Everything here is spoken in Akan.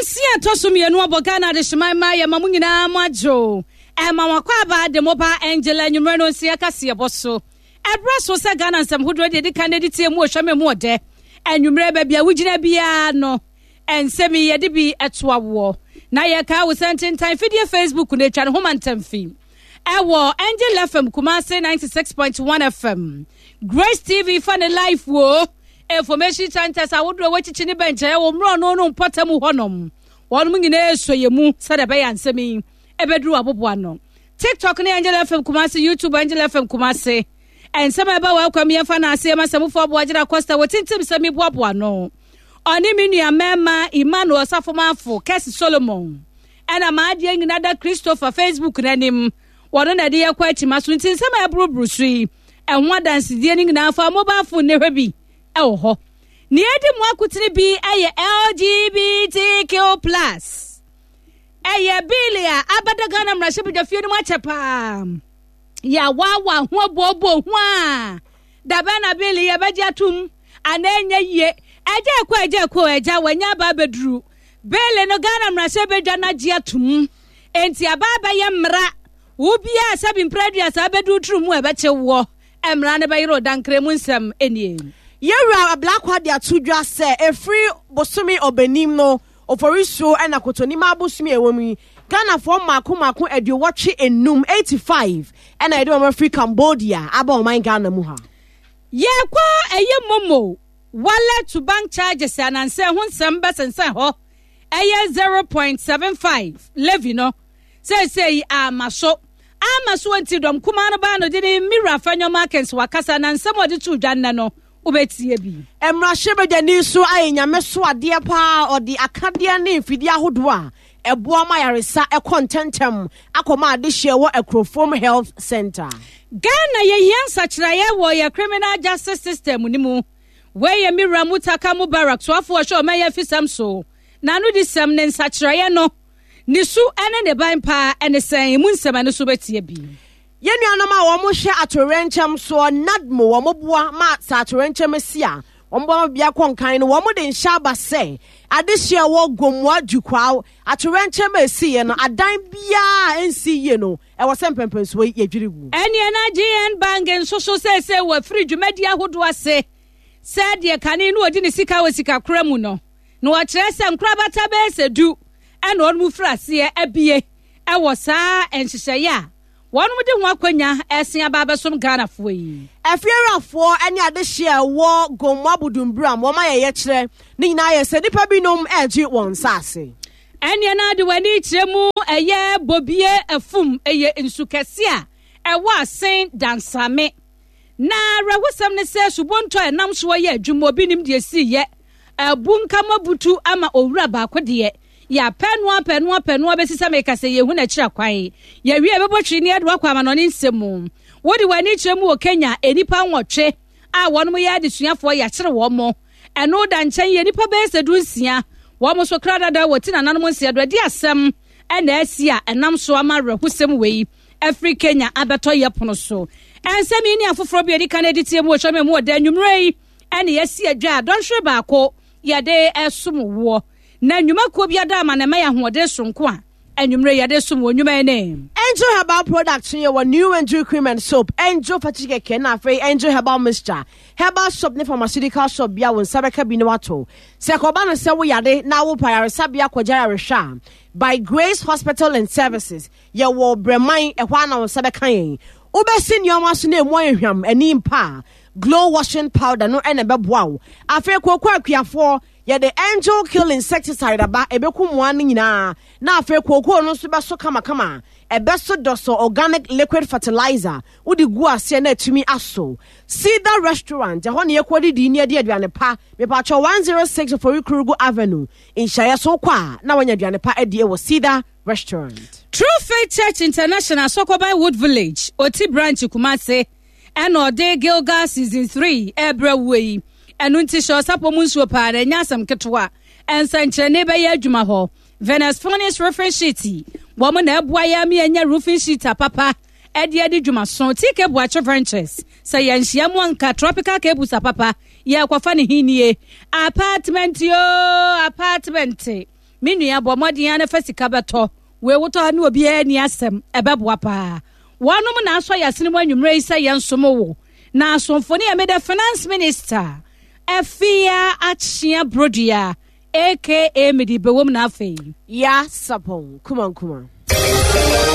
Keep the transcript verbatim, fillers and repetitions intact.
Nonsia ɛtɔ so mmienu abɔ Ghana adehyeman mmaa yɛ ma mo nyinaa mo adwo. Ɛma mo akwaaba de mo ba Angela anwummerɛ nonsia kaseɛbɔ so. Ɛberɛ so sɛ Ghana nsɛm hodoɔ deɛ ɛdi kan na ɛde tie mu ɔhwɛ me mu ɔdɛ. Anwummerɛ baabi a wogyina biara no, nsɛm yi yɛde bi ɛtoa woɔ. Na yɛkaa wo sɛ ntentan fidie Facebook no atwa ne ho mantam fi. Ɛwɔ Angel F M Kumasi ninety-six point one F M. Grace T V fa ne live wo. Information centers ahodoɔ wɔakyikyi ne bɛnkyɛn wɔ mmorɔno no mpɔtam hɔnom. Wɔn nyinaa esɔ yɛ mu sɛdeɛ ɛbɛyɛ nsɛm yi ɛbɛduru aboboa no. TikTok ne Angel F M Kumasi, YouTube Angel F M Kumasi. Nsɛm a ɛba wɔ akwam yɛmfa no ase ma sɛmufoɔ aboagyina Costa wɔ tintim sɛm yi boaboa no. Ɔne me nua mmarima Emmanuel Safomafo, Kɛse Solomon. Ɛna maadeɛ nyinaa da Christopher Facebook n'anim. Wɔno na ɛde yɛkɔ akyima so nti nsɛm a ɛboroboro so yi ɛho adansedie no nyinaa fa mobile phone ne hwɛ bi ɛwɔ hɔ. Nea edi mu akotene bi ɛyɛ L G B T Q plus. Ɛyɛ bill a abɛda Ghana mmarahyɛbadwafie no mu akyɛ paa. Yɛawaawa ho abooboo ho a dabɛn na bill yɛbɛgye atom anaa ɛnyɛ yie. Ɛgya ɛkɔ ɛgya ɛkɔ ɛgya wɔnyɛ aba abɛduru. Bill no Ghana mmarahyɛbadwa no agye atom. Enti aba abɛyɛ mmara. Wo biara sɛbi mpere aduasa abɛduru turu mu a ɛbɛkye woɔ. Mmara no bɛyere ɔdankra mu nsɛm nie. Yɛwura Ablakwa de ato dwa sɛ ɛfiri bosome Ɔbɛnim no Oforisuo ɛna Kotonim abosome a ɛwɔ mu yi, Ghanafoɔ mmaako mmaako aduowɔtwe enum, eighty-five, ɛna yɛde wɔn afiri Cambodia aba ɔman Ghana mu ha. Yɛkɔ ɛyɛ MoMo wallet to bank charges anansɛ ho nsɛm bɛsensɛn hɔ ɛyɛ zero point seven five levy no seesei ama so ama so nti dɔm kumaa no baa no de ne Mira Afenyo Markins wakasa na nsɛm a ɔde to dwa nnɛ no wobɛtie bi. Mmarahyɛbadwani so ayɛ Nyame so adeɛ paa. Ɔde akadeɛ ne mfidie ahodoɔ a ɛboa ma yaresa ɛkɔ ntɛntɛm akɔma adehyeɛ wɔ Akurofom Health Center. Ghana yɛhia nsakyerɛeɛ wɔ yɛ criminal justice system no mu. Wei yɛ Mira Mutaka Mubarak soafoɔ ɔhwɛ ɔman yɛ afisɛm so na ano di sɛm ne nsakyerɛeɛ no ne su ne ne ban paa ne sɛn mu nsɛm ɛno so bɛtie bi. Yɛn nuanom a wɔhwɛ atowerɛnkyɛm soɔ, NADMO, wɔn boa ma sɛ atowerɛnkyɛm si a wɔn boa ma bia kɔ nkan no, wɔn de nhyɛ aba sɛ adehyeɛ wɔ Gomoa Dukwao atowerɛnkyɛm a esiiɛ no, adan biara a ɛnsi yie no, ɛwɔ sɛ mpɛmpɛnsoɔ yi yɛdwiri gu. Ɛneɛ na G N Bank nso so seesei wɔafiri dwumadi ahodoɔ ase sɛ deɛ kane no ɔdi ne sika wɔ sikakora mu no na wɔkyerɛ sɛ nkorabata bɛyɛ sɛ du ɛna wɔn mu firi aseɛ abie ɛwɔ saa nhyehyɛeɛ a wɔn de ho akonnwa ɛsen aba abɛsom Ghanafoɔ yi. Afiewurafoɔ ne adehyeɛ a ɛwɔ Gomoa Budumburam, wɔn ayɛ yɛkyerɛ ne nyinaa yɛ sɛ nnipa binom ɛregye wɔn nsaase. Ɛneɛ na de w'ani kyerɛ mu ɛyɛ Bobie Afum, ɛyɛ nsu kɛse a ɛwɔ Asen Dansame na awerɛhosɛm ne sɛ subonto a ɛnam soɔ yɛ adwuma obi nim deɛ sii yɛ abu nkama butu ama owura baako deɛ yɛapɛ no apɛ no apɛ no abɛsi sɛ meka sɛ yɛhu n'akyiri akwan. Yɛwie bɛbɔ twiri ne yɛde wakɔ amanɔne nsɛm mu. Wode w'ani kyerɛ mu wɔ Kenya, nnipa nwɔtwe a wɔnom yɛ adesuafoɔ yɛakyere wɔn mo. Ɛno da nkyɛn yɛ nnipa bɛyɛ sɛ du nsia wɔn so kra dada wɔ ti nananom nsia do adi asɛm ɛna asi a ɛnam so ama awerɛhosɛm wei afiri Kenya abɛtɔ yɛ pono so. Ɛnsɛm yi ne afoforɔ bi a ɛdi kan adi tie mu wɔ hyɛm mu wɔ da anwummerɛ yi ɛne yɛasi adwa a dɔnhwere baako yɛde ɛsom woɔ na nnwumakuo bi ada ama na ɛma yɛ ahoɔden sonko a anwummerɛ yɛde som wɔ nnwuma yi ne Angel Herbal Products yɛ wɔ New Angel Cream and Soap, Angel Fatty Kɛkɛ na afei Angel Herbal Mixture. Herbal shop ne pharmaceutical shop bia wo nsa bɛka bi ne wato. Sɛ kɔba no sɛ woyade na wopɛ ayaresabea kɔgya yarehwɛ a, By Grace Hospital and Services yɛwɔ Brɛman, ɛhɔ a na wo nsa bɛka yɛn. Wobɛsi nneɛma so na emu ayɛ hwam ani mpa a, Glow washing powder no ɛna ɛbɛboa wo. Afei kooko akuafoɔ, yɛde Angel Kill insecticide aba, ɛbɛku mmoa no nyinaa na afei kookoo no nso bɛso kamakama. Ɛbɛso dɔsɔ organic liquid fertilizer wode gu aseɛ na atumi aso. Cedar Restaurant, ɛhɔ ne yɛkɔ didi ne yɛde aduane pa. Mepatwɛ one oh six Ofori Kurugu Avenue nhyɛeɛ so kɔ a na wanya aduane pa adie wɔ Cedar Restaurant. True Faith Church International, Sokoban Wood Village, Oti Branch, Kumase, ɛna ɔde Gilgal season three ɛbrɛ wo yi. Ɛno nti hyɛ ɔsapɔ mu nsuo paa na ɛnyɛ asɛm ketewa. Ɛnsɛnkyerɛnne bɛyɛ adwuma hɔ. Venus Furnace roofing sheet, wɔn na ɛboa yɛ ama yɛnya roofing sheet apapa ɛde adi dwuma so. T K Buakye Ventures, sɛ yɛnhyia mu anka tropical cables apapa yɛrekɔfa ne hinie. Apartment yoo, apartment. Me nua, bɔ mmɔden ara na fa sika bɛtɔ. Wei wotɔ a ne obiara nni asɛm, ɛbɛboa paa. Wɔnom na asɔ yɛn asene mu anwummerɛ yi sɛ yɛnsom wo. Na asomfo no yɛ meda Finance Minister Afia Akyea Brodua aka mede bɛwom na afei. Ya Sapɔn Kumankuma.